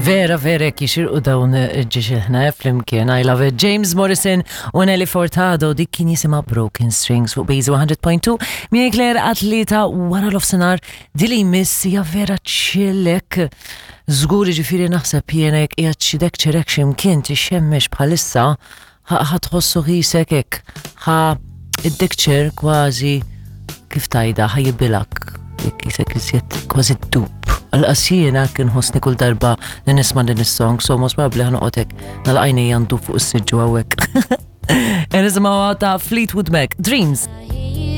Vera, vera, jekk jixirqu dawn ġiġilħna eh, flimkien. I love it. James Morrison u Nelly Furtado dik kien jisimha Broken Strings fuq Base 100.2. Miej Claire atleta wara l-ofsenar dili jmiss hija vera ċillek. Żgur ġifieri naħseb jiena jekk qiegħed xi dek ċerek x'imkien tixxemmex bħalissa ħa tħossu ħisek hekk, ħa id-dekċer kważi kif tajda ħa jibilak, jekk jisek iżjed kważi d-dub. Għal-qas jiena kien ħossni kull darba li nisma' din is-song, so most probably ħa noqgħod hekk nagħlaq għajnejja ndub fuq is-siġġu hawnhekk. Nisimgħu ta' Fleetwood Mac, Dreams.